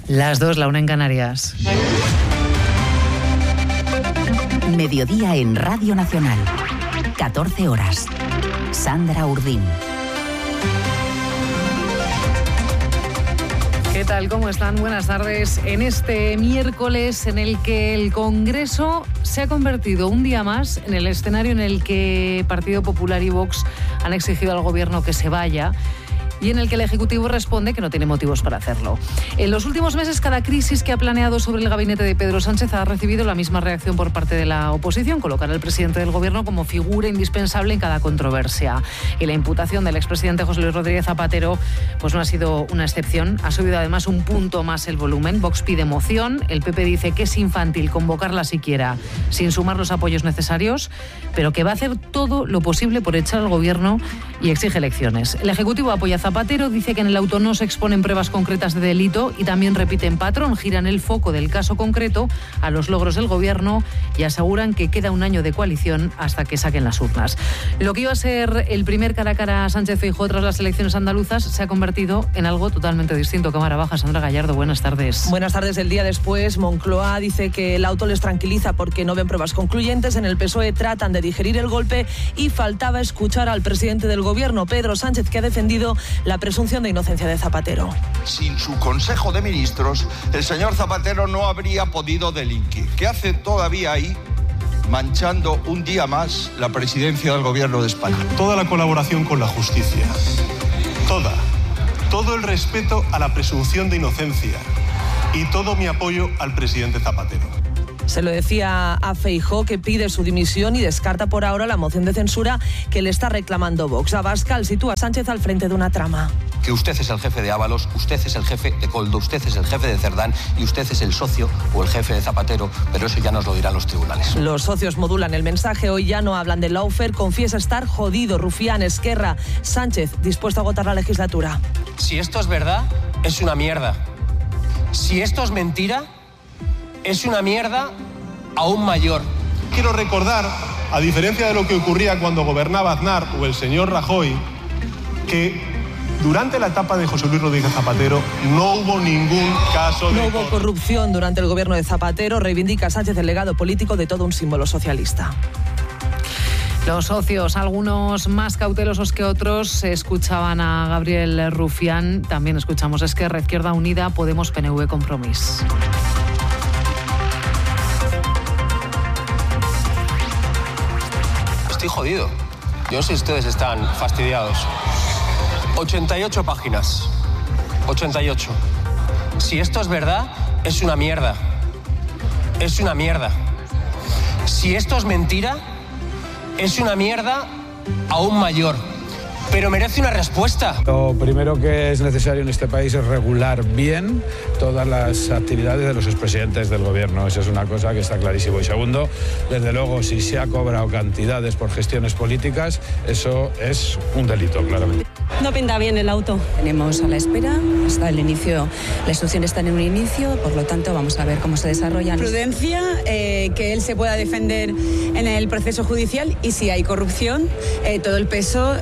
Las 2, la 1 en Canarias. Mediodía en Radio Nacional. 14 horas. Sandra Urdín. ¿Qué tal? ¿Cómo están? Buenas tardes. En este miércoles en el que el Congreso se ha convertido un día más en el escenario en el que Partido Popular y Vox han exigido al Gobierno que se vaya, y en el que el Ejecutivo responde que no tiene motivos para hacerlo. En los últimos meses, cada crisis que ha planeado sobre el gabinete de Pedro Sánchez ha recibido la misma reacción por parte de la oposición: colocar al presidente del Gobierno como figura indispensable en cada controversia. Y la imputación del expresidente José Luis Rodríguez Zapatero pues no ha sido una excepción. Ha subido además un punto más el volumen. Vox pide moción, el PP dice que es infantil convocarla siquiera sin sumar los apoyos necesarios, pero que va a hacer todo lo posible por echar al Gobierno y exige elecciones. El Ejecutivo apoya a Zapatero, dice que en el auto no se exponen pruebas concretas de delito y también repiten patrón, giran el foco del caso concreto a los logros del Gobierno y aseguran que queda un año de coalición hasta que saquen las urnas. Lo que iba a ser el primer cara a cara a Sánchez-Feijóo tras las elecciones andaluzas se ha convertido en algo totalmente distinto. Cámara baja, Sandra Gallardo, buenas tardes. Buenas tardes. El día después, Moncloa dice que el auto les tranquiliza porque no ven pruebas concluyentes. En el PSOE tratan de digerir el golpe y faltaba escuchar al presidente del Gobierno, Pedro Sánchez, que ha defendido la presunción de inocencia de Zapatero. Sin su Consejo de Ministros, el señor Zapatero no habría podido delinquir. ¿Qué hace todavía ahí, manchando un día más la presidencia del Gobierno de España? Toda la colaboración con la justicia, todo el respeto a la presunción de inocencia y todo mi apoyo al presidente Zapatero. Se lo decía a Feijóo, que pide su dimisión y descarta por ahora la moción de censura que le está reclamando Vox. Abascal sitúa a Sánchez al frente de una trama. Que usted es el jefe de Ábalos, usted es el jefe de Koldo, usted es el jefe de Cerdán y usted es el socio o el jefe de Zapatero, pero eso ya nos lo dirán los tribunales. Los socios modulan el mensaje. Hoy ya no hablan de lawfare, confiesa estar jodido. Rufián, Esquerra, Sánchez dispuesto a agotar la legislatura. Si esto es verdad, es una mierda. Si esto es mentira, es una mierda aún mayor. Quiero recordar, a diferencia de lo que ocurría cuando gobernaba Aznar o el señor Rajoy, que durante la etapa de José Luis Rodríguez Zapatero no hubo ningún caso de... No hubo corrupción durante el gobierno de Zapatero. Reivindica Sánchez el legado político de todo un símbolo socialista. Los socios, algunos más cautelosos que otros, escuchaban a Gabriel Rufián. También escuchamos a Esquerra, Izquierda Unida, Podemos, PNV, Compromís. Estoy jodido. Yo no sé si ustedes están fastidiados. 88 páginas. 88. Si esto es verdad, es una mierda. Es una mierda. Si esto es mentira, es una mierda aún mayor. Pero merece una respuesta. Lo primero que es necesario en este país es regular bien todas las actividades de los expresidentes del Gobierno. Esa es una cosa que está clarísimo. Y segundo, desde luego, si se ha cobrado cantidades por gestiones políticas, eso es un delito, claramente. No pinta bien el auto. Tenemos a la espera, hasta el inicio, las instrucciones están en un inicio, por lo tanto vamos a ver cómo se desarrollan. Prudencia, que él se pueda defender en el proceso judicial y si hay corrupción, todo el peso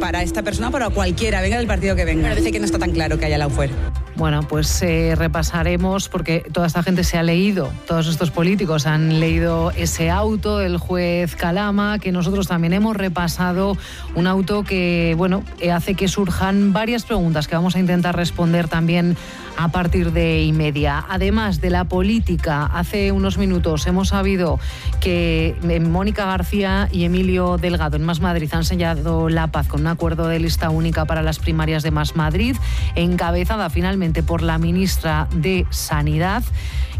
para esta persona, para cualquiera, venga del partido que venga. Parece que no está tan claro que haya lawfare. Bueno, pues repasaremos, porque toda esta gente se ha leído, todos estos políticos han leído ese auto del juez Calama, que nosotros también hemos repasado, un auto que, bueno, hace que surjan varias preguntas que vamos a intentar responder también a partir de 1:30. Además de la política, hace unos minutos hemos sabido que Mónica García y Emilio Delgado en Más Madrid han sellado la paz con un acuerdo de lista única para las primarias de Más Madrid, encabezada finalmente por la ministra de Sanidad.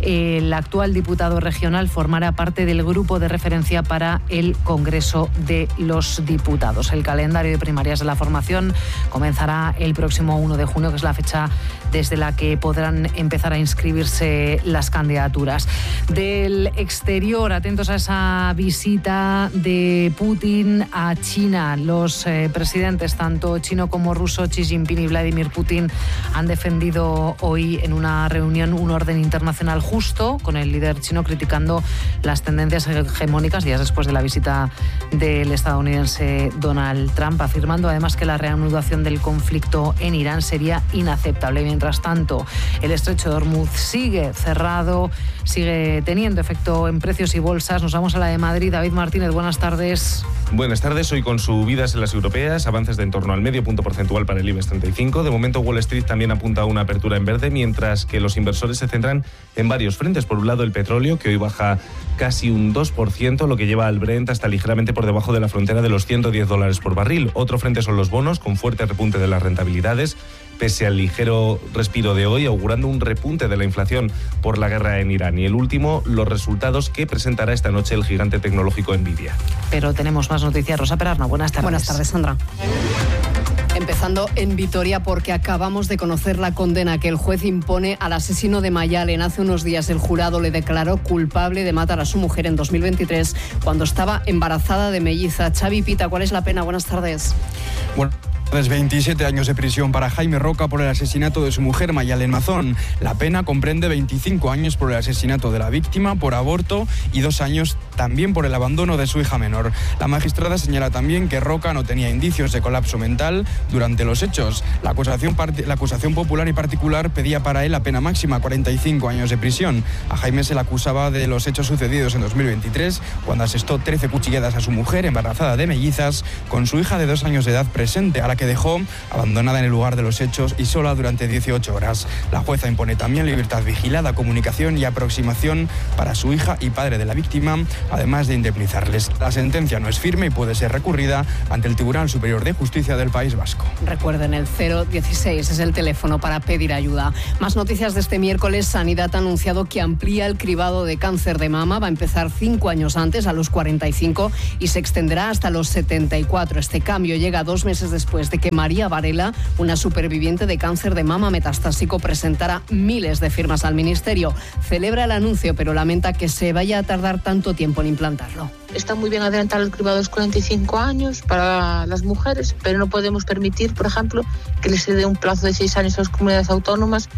El actual diputado regional formará parte del grupo de referencia para el Congreso de los Diputados. El calendario de primarias de la formación comenzará el próximo 1 de junio, que es la fecha desde la que podrán empezar a inscribirse las candidaturas. Del exterior, atentos a esa visita de Putin a China. Los presidentes, tanto chino como ruso, Xi Jinping y Vladimir Putin, han defendido defendido hoy en una reunión un orden internacional justo, con el líder chino criticando las tendencias hegemónicas días después de la visita del estadounidense Donald Trump, afirmando además que la reanudación del conflicto en Irán sería inaceptable. Mientras tanto, el estrecho de Hormuz sigue cerrado, sigue teniendo efecto en precios y bolsas. Nos vamos a la de Madrid. David Martínez, buenas tardes. Buenas tardes. Hoy con subidas en las europeas, avances de en torno al medio punto porcentual para el IBEX 35. De momento Wall Street también apunta a una apertura en verde, mientras que los inversores se centran en varios frentes. Por un lado, el petróleo, que hoy baja casi un 2%, lo que lleva al Brent hasta ligeramente por debajo de la frontera de los $110 por barril. Otro frente son los bonos, con fuerte repunte de las rentabilidades, pese al ligero respiro de hoy, augurando un repunte de la inflación por la guerra en Irán. Y el último, los resultados que presentará esta noche el gigante tecnológico Nvidia. Pero tenemos más noticias. Rosa Perarno, buenas tardes. Buenas tardes, Sandra. Empezando en Vitoria, porque acabamos de conocer la condena que el juez impone al asesino de Mayalen. Hace unos días el jurado le declaró culpable de matar a su mujer en 2023 cuando estaba embarazada de melliza. Xavi Pita, ¿cuál es la pena? Buenas tardes. Bueno. 27 años de prisión para Jaime Roca por el asesinato de su mujer Mayalen Mazón. La pena comprende 25 años por el asesinato de la víctima, por aborto, y 2 años también por el abandono de su hija menor. La magistrada señala también que Roca no tenía indicios de colapso mental durante los hechos. La acusación popular y particular pedía para él la pena máxima, 45 años de prisión. A Jaime se le acusaba de los hechos sucedidos en 2023, cuando asestó 13 cuchilladas a su mujer embarazada de mellizas, con su hija de 2 años de edad presente, a la que dejó abandonada en el lugar de los hechos y sola durante 18 horas. La jueza impone también libertad vigilada, comunicación y aproximación para su hija y padre de la víctima, además de indemnizarles. La sentencia no es firme y puede ser recurrida ante el Tribunal Superior de Justicia del País Vasco. Recuerden, el 016 es el teléfono para pedir ayuda. Más noticias de este miércoles. Sanidad ha anunciado que amplía el cribado de cáncer de mama. Va a empezar 5 años antes, a los 45, y se extenderá hasta los 74. Este cambio llega 2 meses después de que María Varela, una superviviente de cáncer de mama metastásico, presentara miles de firmas al Ministerio. Celebra el anuncio, pero lamenta que se vaya a tardar tanto tiempo en implantarlo. Está muy bien adelantar el cribado a los 45 años para las mujeres, pero no podemos permitir, por ejemplo, que les dé un plazo de 6 años a las comunidades autónomas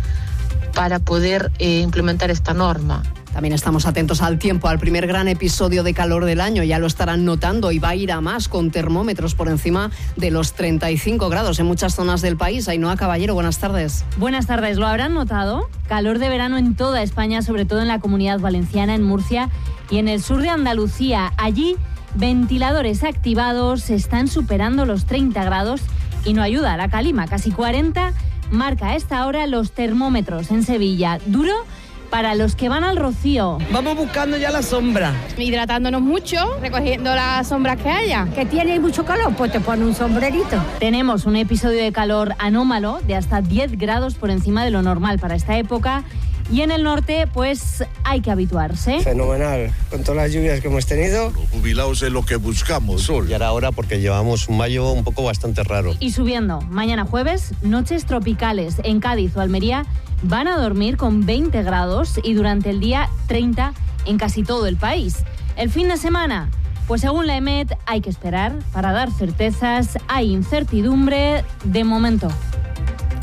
para poder implementar esta norma. También estamos atentos al tiempo, al primer gran episodio de calor del año. Ya lo estarán notando y va a ir a más, con termómetros por encima de los 35 grados en muchas zonas del país. Ainhoa Caballero, buenas tardes. Buenas tardes. ¿Lo habrán notado? Calor de verano en toda España, sobre todo en la Comunidad Valenciana, en Murcia y en el sur de Andalucía. Allí, ventiladores activados están superando los 30 grados y no ayuda a la calima. Casi 40 marca a esta hora los termómetros en Sevilla. Duro para los que van al Rocío. Vamos buscando ya la sombra. Hidratándonos mucho, recogiendo las sombras que haya. Que tiene mucho calor, pues te pone un sombrerito. Tenemos un episodio de calor anómalo de hasta 10 grados por encima de lo normal para esta época. Y en el norte, pues hay que habituarse. Fenomenal, con todas las lluvias que hemos tenido. Los jubilados es lo que buscamos. Sol. Y ahora porque llevamos un mayo un poco bastante raro. Y subiendo, mañana jueves, noches tropicales en Cádiz o Almería. Van a dormir con 20 grados y durante el día 30 en casi todo el país. El fin de semana, pues según la EMET hay que esperar para dar certezas, hay incertidumbre de momento.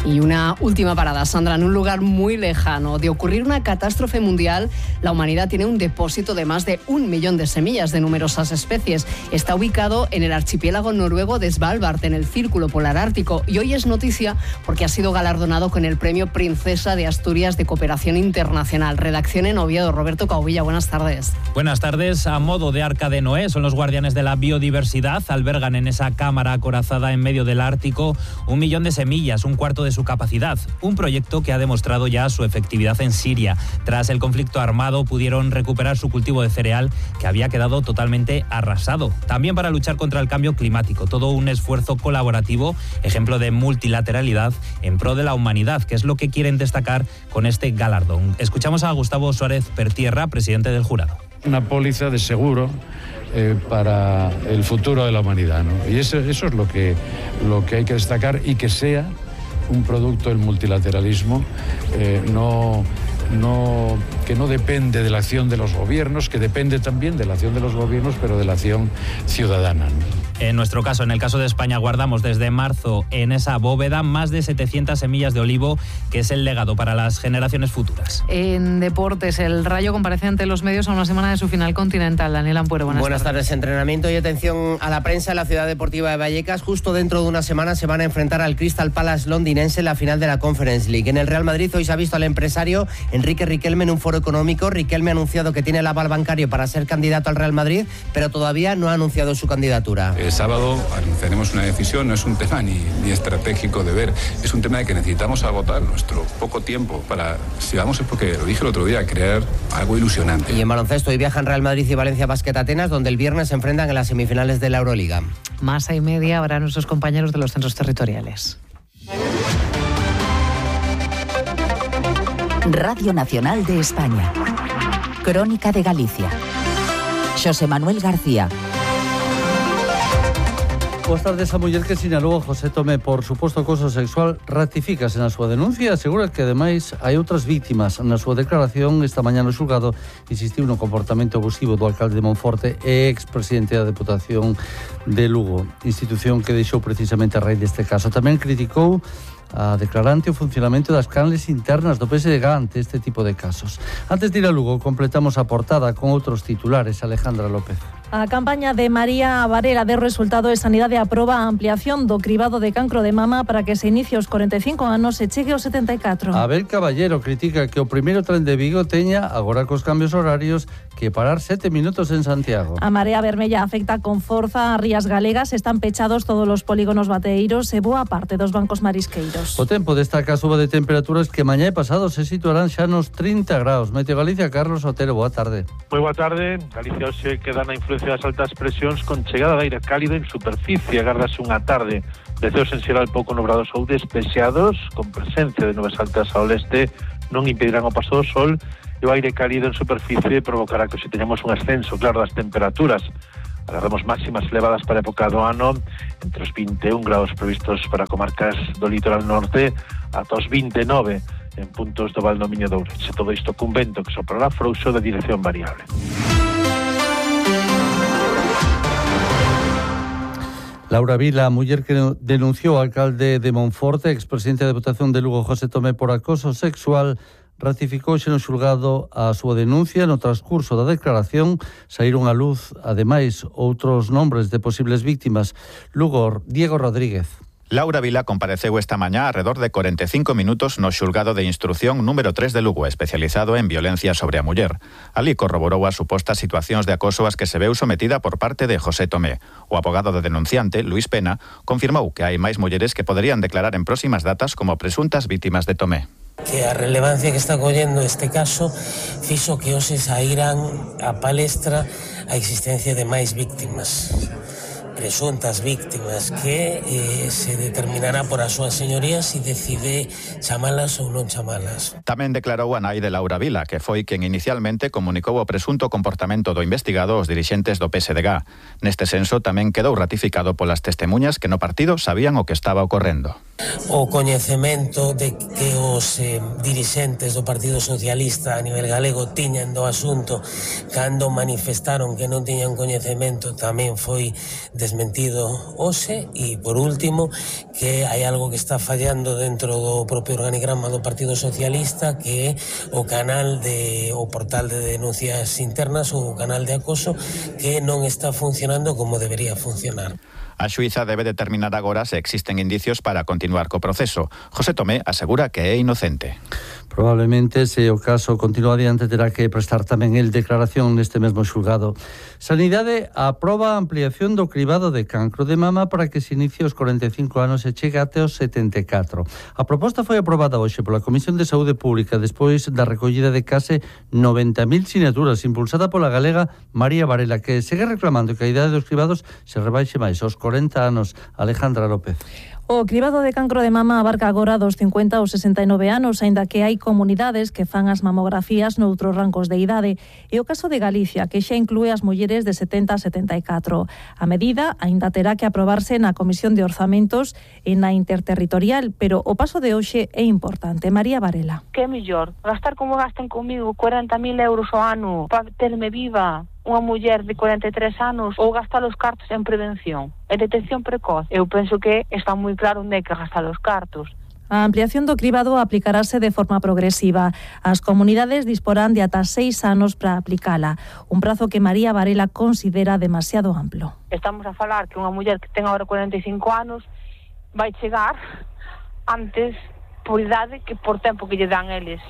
Y una última parada, Sandra, en un lugar muy lejano. De ocurrir una catástrofe mundial, la humanidad tiene un depósito de más de 1 millón de semillas de numerosas especies. Está ubicado en el archipiélago noruego de Svalbard, en el Círculo Polar Ártico. Y hoy es noticia porque ha sido galardonado con el Premio Princesa de Asturias de Cooperación Internacional. Redacción en Oviedo. Roberto Caubilla, buenas tardes. Buenas tardes. A modo de Arca de Noé, son los guardianes de la biodiversidad. Albergan en esa cámara acorazada en medio del Ártico 1 millón de semillas, un cuarto de su capacidad. Un proyecto que ha demostrado ya su efectividad en Siria. Tras el conflicto armado pudieron recuperar su cultivo de cereal que había quedado totalmente arrasado. También para luchar contra el cambio climático. Todo un esfuerzo colaborativo, ejemplo de multilateralidad en pro de la humanidad, que es lo que quieren destacar con este galardón. Escuchamos a Gustavo Suárez Pertierra, presidente del jurado. Una póliza de seguro para el futuro de la humanidad, ¿no? Y eso es lo que hay que destacar, y que sea un producto del multilateralismo, no que no depende de la acción de los gobiernos, que depende también de la acción de los gobiernos, pero de la acción ciudadana. En nuestro caso, en el caso de España, guardamos desde marzo en esa bóveda más de 700 semillas de olivo, que es el legado para las generaciones futuras. En deportes, el Rayo comparece ante los medios a una semana de su final continental. Daniel Ampuero, buenas tardes. Entrenamiento y atención a la prensa en la ciudad deportiva de Vallecas. Justo dentro de una semana se van a enfrentar al Crystal Palace londinense en la final de la Conference League. En el Real Madrid hoy se ha visto al empresario Enrique Riquelme en un foro económico. Riquelme ha anunciado que tiene el aval bancario para ser candidato al Real Madrid, pero todavía no ha anunciado su candidatura. El sábado anunciaremos una decisión, no es un tema ni estratégico de ver, es un tema de que necesitamos agotar nuestro poco tiempo para, si vamos, es porque lo dije el otro día, crear algo ilusionante. Y en baloncesto hoy viajan Real Madrid y Valencia Basket Atenas, donde el viernes se enfrentan en las semifinales de la Euroliga. Más y media habrá nuestros compañeros de los centros territoriales. Radio Nacional de España. Crónica de Galicia. Xosé Manuel García. Boas tardes. A muller que sinalou a José Tomé por suposto acoso sexual ratificase na súa denuncia e asegura que ademais hai outras vítimas. Na súa declaración esta mañá no xulgado insistiu no comportamento abusivo do alcalde de Monforte e expresidente da Deputación de Lugo, institución que deixou precisamente a raíz deste caso. Tamén criticou a declarante o funcionamento das canles internas do PSG ante este tipo de casos. Antes de ir a Lugo, completamos a portada con outros titulares. Alejandra López. A campaña de María Varela de resultado de Sanidade aproba a ampliación do cribado de cancro de mama para que se inicie aos 45 anos e chegue aos 74. Abel Caballero critica que o primeiro tren de Vigo teña, agora cos cambios horarios, que parar 7 minutos en Santiago. A Marea Vermella afecta con forza a rías galegas, están pechados todos os polígonos bateeiros e boa parte dos bancos marisqueiros. O tempo destaca a suba de temperaturas que mañá e pasado se situarán xa nos 30 graus. Meteo Galicia, Carlos Otero, boa tarde. Moi boa tarde. Galicia hoxe queda na influencia das altas presións con chegada de aire cálido en superficie. Agardase unha tarde de ceos en xeral pouco nubrados ou despexados, con presencia de nubes altas ao leste, non impedirán o paso do sol, e o aire cálido en superficie provocará que hoxe teñamos un ascenso, claro, das temperaturas. Agardamos máximas elevadas para a época do ano, entre os 21 graus previstos para comarcas do litoral norte, ata os 29 en puntos do Val do Miño de Ourense. Todo isto cun vento que soprará frouxo de dirección variable. Laura Vila, a muller que denunciou ao alcalde de Monforte, expresidente da Deputación de Lugo, José Tomé, por acoso sexual, ratificou no xulgado a súa denuncia. No transcurso da declaración saíron á luz, ademais, outros nombres de posibles víctimas. Lugo, Diego Rodríguez. Laura Vila compareceu esta mañá alrededor de 45 minutos no xulgado de instrucción número 3 de Lugo, especializado en violencia sobre a muller. Ali corroborou as supostas situacións de acoso ás que se veu sometida por parte de José Tomé. O abogado do denunciante, Luis Pena, confirmou que hai máis mulleres que poderían declarar en próximas datas como presuntas vítimas de Tomé. Que a relevancia que está collendo este caso fixo que hoxe saíran a palestra a existencia de máis víctimas, presuntas víctimas, que se determinará por as súas señorías se decide chamalas ou non chamalas. Tamén declarou a nai de Laura Vila, que foi quen inicialmente comunicou o presunto comportamento do investigado aos dirixentes do PSG. Neste senso tamén quedou ratificado polas testemuñas que no partido sabían o que estaba ocorrendo. O coñecemento de que os dirixentes do Partido Socialista a nivel galego tiñan do asunto cando manifestaron que non tiñan coñecemento tamén foi desmentido hoxe. E por último, que hai algo que está fallando dentro do propio organigrama do Partido Socialista, que é o portal de denuncias internas ou o canal de acoso, que non está funcionando como debería funcionar. A xuíza debe determinar agora se existen indicios para continuar co proceso. José Tomé asegura que é inocente. Probablemente, se o caso continúa adiante, terá que prestar tamén el declaración neste mesmo xulgado. Sanidade aproba a ampliación do cribado de cancro de mama para que se inicie aos 45 anos e chegue até os 74. A proposta foi aprobada hoxe pola Comisión de Saúde Pública despois da recollida de case 90.000 sinaturas impulsada pola galega María Varela, que segue reclamando que a idade dos cribados se rebaixe máis aos 40 anos. Alejandra López. O cribado de cancro de mama abarca agora dos 50 aos 69 anos, aínda que hai comunidades que fan as mamografías noutros rancos de idade. E o caso de Galicia, que xa inclúe as mulleres de 70 a 74. A medida aínda terá que aprobarse na Comisión de Orzamentos e na Interterritorial, pero o paso de hoxe é importante. María Varela. Que é mellor? Gastar como gasten comigo 40.000 euros ao ano para terme viva unha muller de 43 anos ou gastar os cartos en prevención e detección precoz? Eu penso que está moi claro onde hai que gastar os cartos. A ampliación do cribado aplicarase de forma progresiva. As comunidades disporán de ata 6 anos para aplicala, un prazo que María Varela considera demasiado amplo. Estamos a falar que unha muller que ten agora 45 anos vai chegar antes por idade que por tempo que lle dan eles.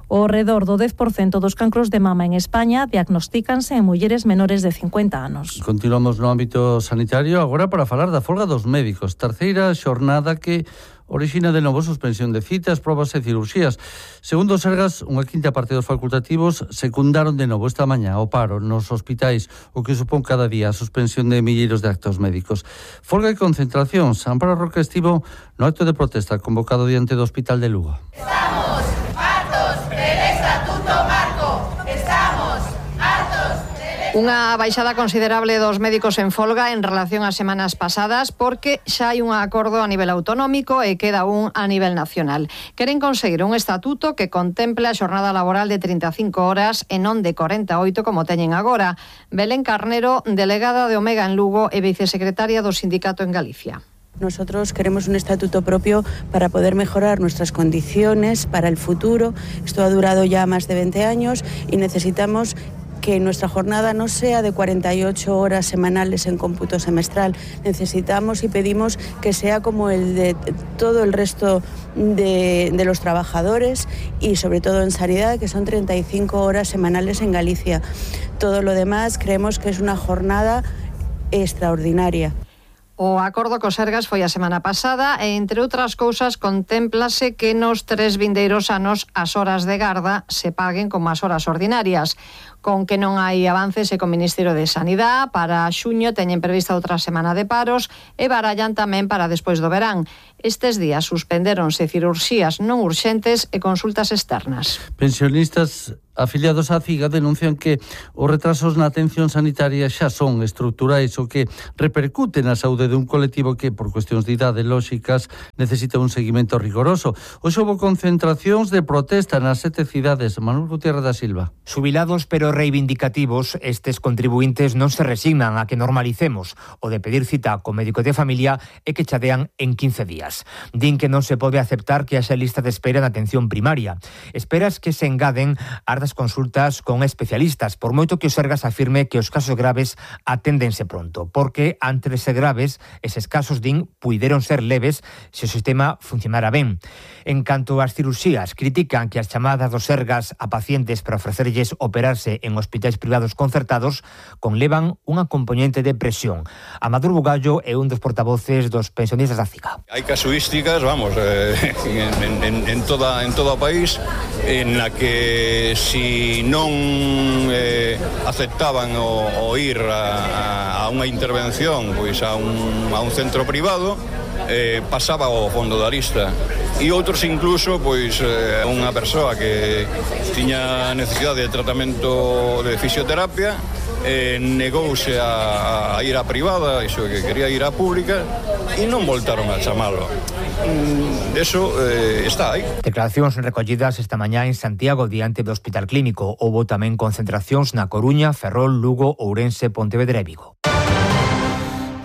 O redor do 10% dos cancros de mama en España diagnostícanse en mulleres menores de 50 anos. Continuamos no ámbito sanitario agora para falar da folga dos médicos. Terceira xornada que orixina de novo suspensión de citas, probas e cirurxías. Segundo o Sergas, unha quinta parte dos facultativos secundaron de novo esta mañá o paro nos hospitais, o que supón cada día a suspensión de milleiros de actos médicos. Folga e concentracións. Amparo Roca estivo no acto de protesta convocado diante do Hospital de Lugo. Estamos hartos del Estatuto Marco. Estamos hartos del... Unha baixada considerable dos médicos en folga en relación ás semanas pasadas porque xa hai un acordo a nivel autonómico e queda un a nivel nacional. Queren conseguir un estatuto que contemple a xornada laboral de 35 horas e non de 48 como teñen agora. Belén Carnero, delegada de Omega en Lugo e vicesecretaria do sindicato en Galicia. Nosotros queremos un estatuto propio para poder mejorar nuestras condiciones para el futuro. Esto ha durado ya más de 20 años y necesitamos que nuestra jornada no sea de 48 horas semanales en cómputo semestral. Necesitamos y pedimos que sea como el de todo el resto de los trabajadores y sobre todo en sanidad, que son 35 horas semanales en Galicia. Todo lo demás creemos que es una jornada extraordinaria. O acordo co Sergas foi a semana pasada e, entre outras cousas, contémplase que nos 3 vindeiros anos as horas de garda se paguen como as horas ordinarias. Con que non hai avances e co Ministerio de Sanidade, para xuño teñen prevista outra semana de paros e barallan tamén para despois do verán. Estes días suspendéronse cirurxías non urxentes e consultas externas. Pensionistas afiliados á CIGA denuncian que os retrasos na atención sanitaria xa son estruturais, o que repercute na saúde dun colectivo que, por cuestións de idade lóxicas, necesita un seguimento rigoroso. Hoxe houbo concentracións de protesta nas 7 cidades. Manuel Gutiérrez da Silva. Xubilados pero reivindicativos, estes contribuintes non se resignan a que normalicemos o de pedir cita co médico de familia e que chadean en 15 días. Din que non se pode aceptar que haxa lista de espera na atención primaria. Esperas que se engaden as consultas con especialistas, por moito que o Sergas afirme que os casos graves aténdense pronto, porque ante de ser graves, eses casos din puideron ser leves se o sistema funcionara ben. En canto ás cirurxías, critican que as chamadas do Sergas a pacientes para ofrecerlles operarse en hospitais privados concertados conlevan unha componente de presión. Amador Bugallo é un dos portavoces dos pensionistas da CIGA. Hai casuísticas, vamos, en todo o país, en la que si non aceptaban o ir a unha intervención pois a un centro privado, pasaba ao fondo da lista. E outros incluso, pois, unha persoa que tiña necesidade de tratamento de fisioterapia, negouse a ir á privada, iso que quería ir á pública, e non voltaron a chamalo. Eso está aí. Declaracións recollidas esta mañá en Santiago diante do Hospital Clínico. Houbo tamén concentracións na Coruña, Ferrol, Lugo, Ourense, Pontevedra e Vigo.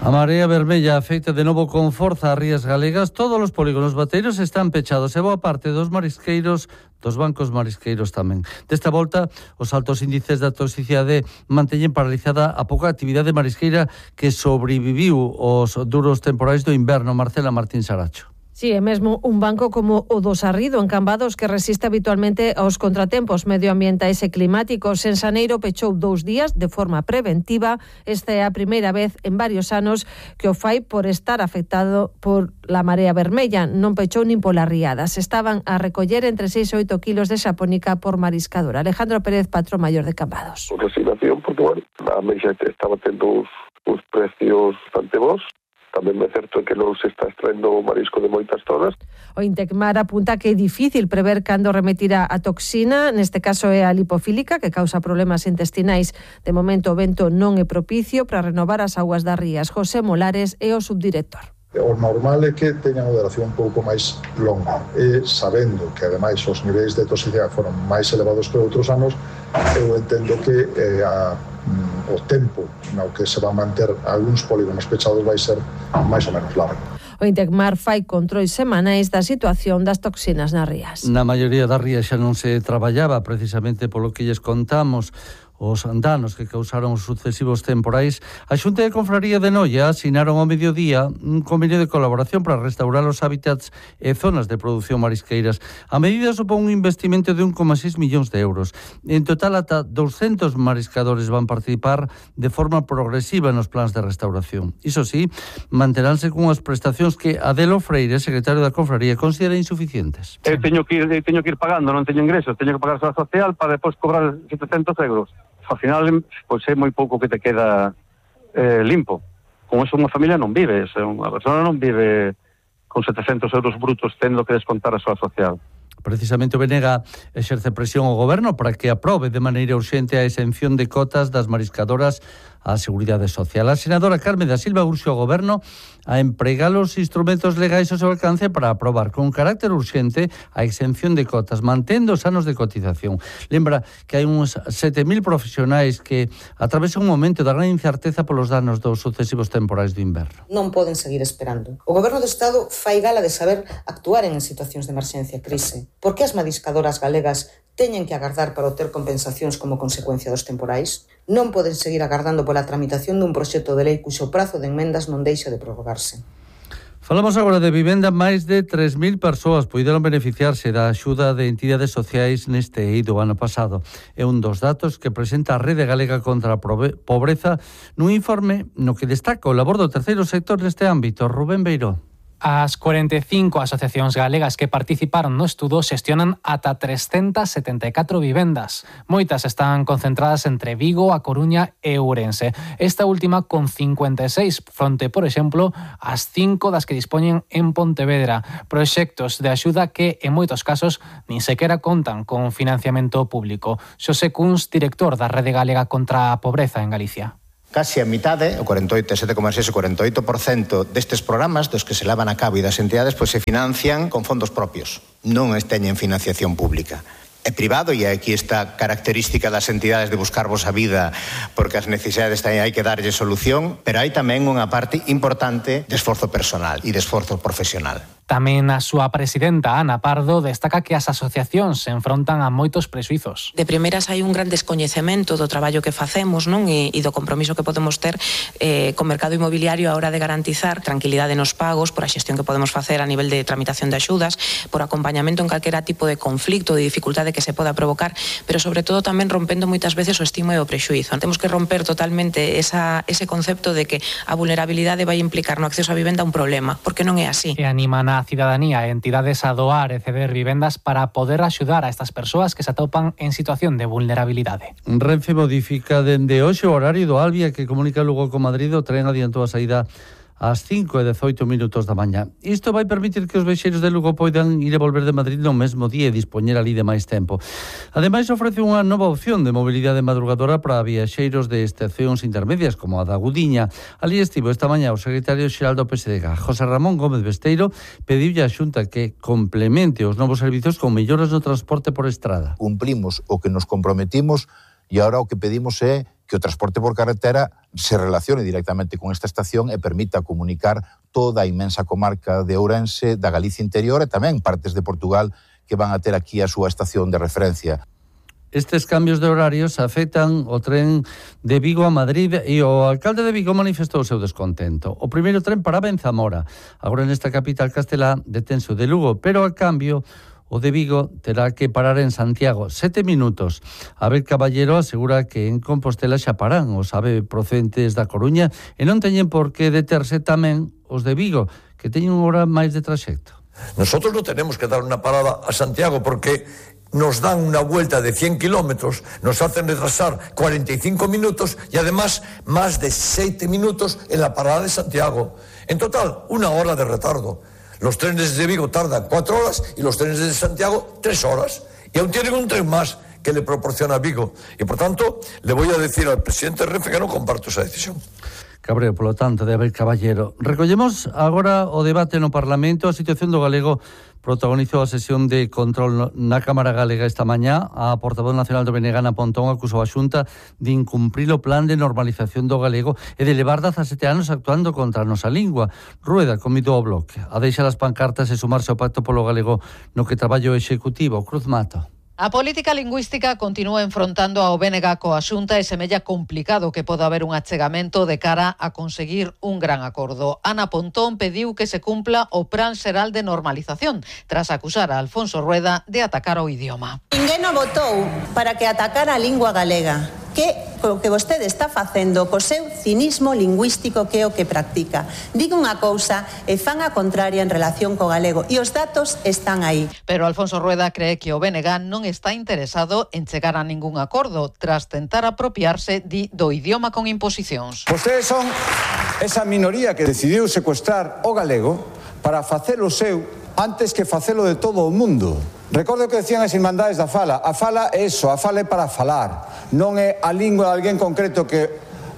A Marea Vermella afecta de novo con forza as rías galegas. Todos os polígonos bateiros están pechados e boa parte dos marisqueiros, dos bancos marisqueiros tamén. Desta volta, os altos índices da toxicidade manteñen paralizada a pouca actividade marisqueira que sobreviviu os duros temporais do inverno. Marcela Martín Saracho. Sí, é mesmo un banco como o do Sarrido, en Cambados, que resiste habitualmente aos contratempos medioambientais e climáticos. En Xaneiro pechou 2 días de forma preventiva. Esta é a primeira vez en varios anos que o fai por estar afectado por la Marea Vermella. Non pechou nin polas riadas. Estaban a recoller entre 6 e 8 kilos de xapónica por mariscadora. Alejandro Pérez, patrón maior de Cambados. Resignación, porque, bueno, a meixa estaba tendo uns precios bastante bons, Tamén é certo que non se está extraendo o marisco de moitas zonas. O Intecmar apunta que é difícil prever cando remitirá a toxina, neste caso é a lipofílica, que causa problemas intestinais. De momento o vento non é propicio para renovar as augas das rías. José Molares é o subdirector. O normal é que teñan a duración un pouco máis longa e sabendo que ademais os niveis de toxicidade foron máis elevados que outros anos, eu entendo que o tempo no que se van manter algúns polígonos pechados vai ser máis ou menos largo. O Intecmar fai controis semanais da situación das toxinas nas rías. Na maioría das rías xa non se traballaba precisamente polo que lles contamos os danos que causaron os sucesivos temporais. A Xunta de Confraría de Noia asinaron ao mediodía un convenio de colaboración para restaurar os hábitats e zonas de produción marisqueiras. A medida supón un investimento de 1,6 millóns de euros. En total, ata 200 mariscadores van participar de forma progresiva nos plans de restauración. Iso sí, manteránse cunhas prestacións que Adelo Freire, secretario da Confraría, considera insuficientes. Teño que ir pagando, non teño ingresos, teño que pagar a Seguridade Social para depois cobrar 700 euros. Ao final, pois é moi pouco que te queda limpo. Con eso unha familia non vive, unha persona non vive con 700 euros brutos tendo que descontar a súa social. Precisamente o Benega exerce presión ao Goberno para que aprobe de maneira urxente a exención de cotas das mariscadoras á Seguridade Social. A senadora Carmen da Silva urxe ao Goberno a empregar os instrumentos legais ao seu alcance para aprobar con carácter urxente a exención de cotas, mantendo os anos de cotización. Lembra que hai uns 7.000 profesionais que atravesan un momento de gran incerteza polos danos dos sucesivos temporais do inverno. Non poden seguir esperando. O Goberno do Estado fai gala de saber actuar en situacións de emerxencia e crise. Por que as mariscadoras galegas teñen que agardar para obter compensacións como consecuencia dos temporais? Non poden seguir agardando pola tramitación dun proxecto de lei cuxo prazo de enmendas non deixa de prorrogarse. Falamos agora de vivenda. Máis de 3.000 persoas puideron beneficiarse da axuda de entidades sociais neste eido ano pasado. É un dos datos que presenta a Rede Galega contra a Pobreza nun informe no que destaca o labor do terceiro sector neste ámbito. Rubén Beiró. As 45 asociacións galegas que participaron no estudo xestionan ata 374 vivendas. Moitas están concentradas entre Vigo, A Coruña e Ourense. Esta última con 56 fronte, por exemplo, as 5 das que dispoñen en Pontevedra. Proxectos de axuda que, en moitos casos, nin sequera contan con financiamento público. Xosé Cuns, director da Rede Galega contra a Pobreza en Galicia. Casi a mitade, o 7,6 o 48% destes programas dos que se levan a cabo e das entidades pois se financian con fondos propios, non teñen financiación pública. É privado e aquí esta característica das entidades de buscarvos a vida porque as necesidades hai que darlle solución, pero hai tamén unha parte importante de esforzo personal e de esforzo profesional. Tamén a súa presidenta, Ana Pardo, destaca que as asociacións se enfrontan a moitos prexuizos. De primeiras hai un gran descoñecemento do traballo que facemos, non? E do compromiso que podemos ter co mercado inmobiliario a hora de garantizar tranquilidade nos pagos, por a xestión que podemos facer a nivel de tramitación de axudas, por acompañamento en calquera tipo de conflicto, de dificultade que se poda provocar, pero sobre todo tamén rompendo moitas veces o estigma e o prexuizo. Temos que romper totalmente ese concepto de que a vulnerabilidade vai implicar no acceso á vivenda un problema, porque non é así. E animan a cidadanía e entidades a doar e ceder vivendas para poder axudar a estas persoas que se atopan en situación de vulnerabilidade. Renfe modifica dende hoxe o horario do Albia que comunica Lugo con Madrid. O tren adiantou a saída ás 5:18 da mañá. Isto vai permitir que os viaxeiros de Lugo poidan ir e volver de Madrid no mesmo día e dispoñer ali de máis tempo. Ademais, ofrece unha nova opción de mobilidade madrugadora para viaxeiros de estacións intermedias, como a da Gudiña. Ali estivo esta mañá o secretario xeral do PSDG, José Ramón Gómez Besteiro, pediulle á Xunta que complemente os novos servizos con melloras no transporte por estrada. Cumplimos o que nos comprometimos e agora o que pedimos é que o transporte por carretera se relacione directamente con esta estación e permita comunicar toda a inmensa comarca de Ourense, da Galicia interior e tamén partes de Portugal que van a ter aquí a súa estación de referencia. Estes cambios de horarios afectan o tren de Vigo a Madrid e o alcalde de Vigo manifestou o seu descontento. O primeiro tren paraba en Zamora. Agora nesta capital castelá detense o de Lugo, pero a cambio o de Vigo terá que parar en Santiago 7 minutos. Abel Caballero asegura que en Compostela xa paran os ave procedentes da Coruña e non teñen por que deterse tamén os de Vigo, que teñen unha hora máis de traxecto. Nosotros non tenemos que dar unha parada a Santiago porque nos dan una vuelta de 100 kilómetros, nos hacen retrasar 45 minutos y además más de 7 minutos en la parada de Santiago. En total, 1 hora de retardo. Los trenes de Vigo tardan 4 horas y los trenes de Santiago 3 horas. Y aún tienen un tren más que le proporciona Vigo. Y por tanto, le voy a decir al presidente Renfe que non comparto esa decisión. Cabreo, polo tanto, de Abel Caballero. Recollemos agora o debate no Parlamento. A situación do galego protagonizou a sesión de control na Cámara Galega esta mañá. A portavoz nacional do BNG, Ana Pontón, acusou a Xunta de incumprir o plan de normalización do galego e de levar 17 anos actuando contra a nosa lingua. Rueda convidou ao Bloque a deixar as pancartas e sumarse ao pacto polo galego no que traballa o Executivo. Cruz Mato. A política lingüística continúa enfrontando ao BNG coa Xunta e semella complicado que poda haber un achegamento de cara a conseguir un gran acordo. Ana Pontón pediu que se cumpla o Plan Xeral de Normalización tras acusar a Alfonso Rueda de atacar o idioma. Ninguén o votou para que atacara a lingua galega. Que o que vostede está facendo co seu cinismo lingüístico que é o que practica. Diga unha cousa e fan a contraria en relación co galego e os datos están aí. Pero Alfonso Rueda cree que o BNG non está interesado en chegar a ningún acordo tras tentar apropiarse do idioma con imposicións. Vostedes son esa minoría que decidiu secuestrar o galego para facelo seu antes que facelo de todo o mundo. Recordo que decían as Irmandades da Fala. A fala é iso, a fala é para falar. Non é a lingua de alguén concreto que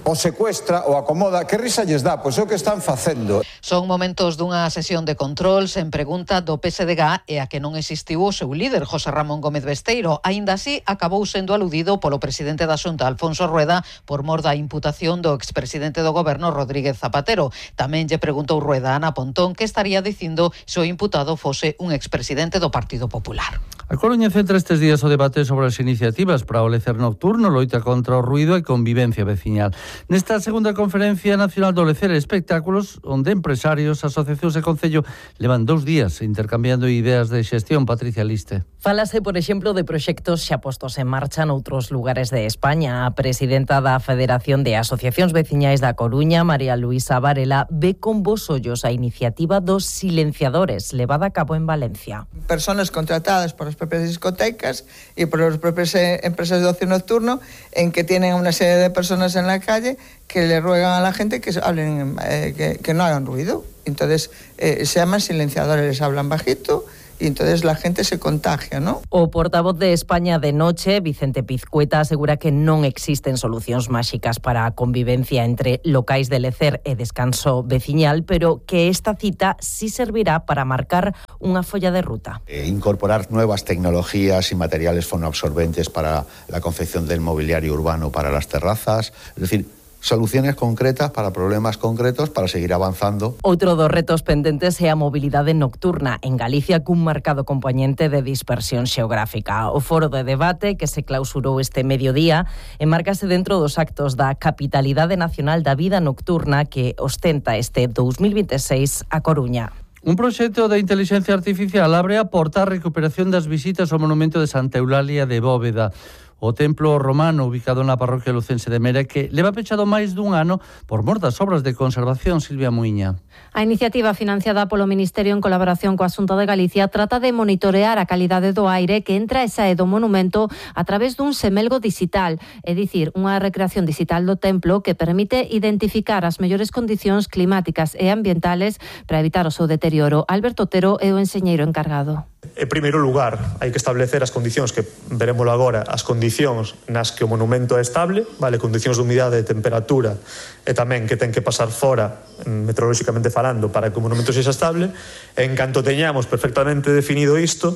o secuestra ou acomoda. Que risa lles dá? Pois é o que están facendo. Son momentos dunha sesión de control sen pregunta do PSDG e a que non existiu o seu líder, José Ramón Gómez Besteiro. Aínda así, acabou sendo aludido polo presidente da Xunta, Alfonso Rueda, por mor da imputación do expresidente do goberno, Rodríguez Zapatero. Tamén lle preguntou Rueda a Ana Pontón que estaría dicindo se o imputado fose un expresidente do Partido Popular. A Coruña centra estes días o debate sobre as iniciativas para o lecer nocturno, loita contra o ruido e convivencia veciñal. Nesta segunda conferencia nacional do lecer e espectáculos, onde empresarios, asociacións e concello levan 2 días intercambiando ideas de xestión. Patricia Liste. Falase, por exemplo, de proxectos xa postos en marcha noutros lugares de España. A presidenta da Federación de Asociacións Veciñais da Coruña, María Luisa Varela, ve con bos ollos a iniciativa dos silenciadores levada a cabo en Valencia. Personas contratadas por as propias discotecas e por as propias empresas de ocio nocturno en que tienen una serie de personas en la calle que le ruegan a la gente que hablen, que no hagan ruido. Entonces se llaman silenciadores, les hablan bajito y entonces la gente se contagia, ¿no? O portavoz de España de Noche, Vicente Pizcueta, asegura que non existen solucións máxicas para a convivencia entre locais de lecer e descanso veciñal, pero que esta cita sí servirá para marcar unha folla de ruta. Incorporar nuevas tecnologías y materiales fonoabsorbentes para la confección del mobiliario urbano para las terrazas, es decir, soluciones concretas para problemas concretos para seguir avanzando. Outro dos retos pendentes é a mobilidade nocturna en Galicia cun marcado componente de dispersión xeográfica. O foro de debate que se clausurou este mediodía enmárcase dentro dos actos da Capitalidade Nacional da Vida Nocturna que ostenta este 2026 a Coruña. Un proxecto de inteligencia artificial abre a porta á recuperación das visitas ao monumento de Santa Eulalia de Bóveda. O templo romano ubicado na parroquia lucense de Mera que leva pechado máis dun ano por mor das obras de conservación. Silvia Muiña. A iniciativa financiada polo Ministerio en colaboración coa Xunta de Galicia trata de monitorear a calidade do aire que entra e sae do monumento a través dun semelgo digital, é dicir, unha recreación digital do templo que permite identificar as mellores condicións climáticas e ambientales para evitar o seu deterioro. Alberto Otero é o enxeñeiro encargado. En primeiro lugar, hai que establecer as condicións que verémolo agora, as condicións nas que o monumento é estable, vale, condicións de humidade, de temperatura e tamén que ten que pasar fora meteorolóxicamente falando para que o monumento sexa estable. En canto teñamos perfectamente definido isto,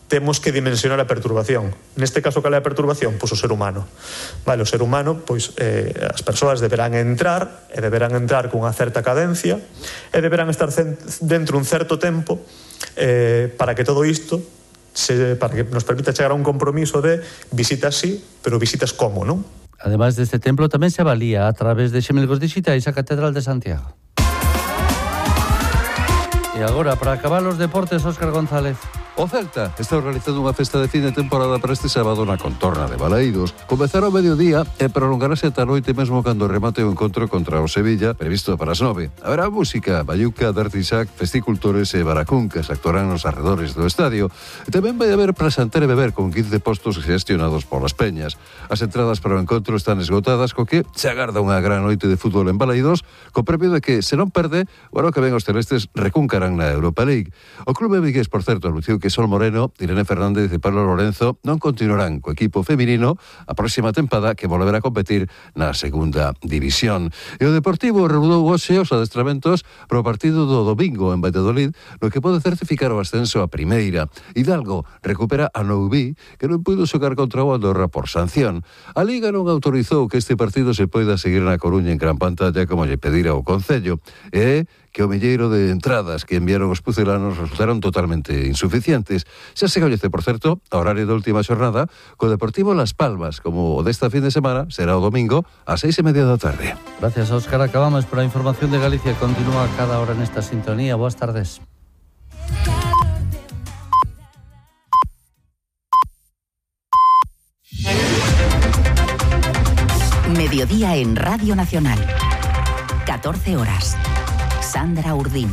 temos que dimensionar a perturbación. Neste caso, cal é a perturbación? Pois o ser humano. Vale, o ser humano, pois as persoas deberán entrar cunha certa cadencia e deberán estar dentro un certo tempo para que todo isto para que nos permita chegar a un compromiso de visitas sí, pero visitas como, non? Ademais deste templo tamén se avalía a través de xemelgos digitais a Catedral de Santiago. E agora, para acabar os deportes, Óscar González. O Celta está organizando unha festa de fin de temporada para este sábado na contorna de Balaídos. Comezará ao mediodía e prolongarase ata a noite mesmo cando remate o encontro contra o Sevilla, previsto para as 9. Haberá música, bayuca, dartisac, festicultores e baracuncas actuarán nos arredores do estadio. E tamén vai haber prasanter e beber con 15 postos gestionados polas peñas. As entradas para o encontro están esgotadas, co que se agarda unha gran noite de fútbol en Balaídos, co premio de que, se non perde, o ano que ven os celestes recuncarán na Europa League. O clube vigués, por certo, anunciou que Sol Moreno, Irene Fernández e Pablo Lorenzo non continuarán co equipo feminino a próxima tempada, que volverá a competir na segunda división. E o Deportivo reanudou hoxe os adestramentos pro partido do domingo en Valladolid, no que pode certificar o ascenso a primeira. Hidalgo recupera a Noubí, que non puido xogar contra o Andorra por sanción. A Liga non autorizou que este partido se poida seguir na Coruña en gran pantalla como lle pedira o Concello. E que o milleiro de entradas que enviaron os pucelanos resultaron totalmente insuficientes. Xa se coñece, por certo, a horario da última xornada, co Deportivo Las Palmas, como o desta fin de semana, será o domingo ás 6:30 da tarde. Gracias, Óscar. Acabamos, pero a información de Galicia continúa cada hora nesta sintonía. Boas tardes. Mediodía en Radio Nacional. 14 horas. Sandra Urdín.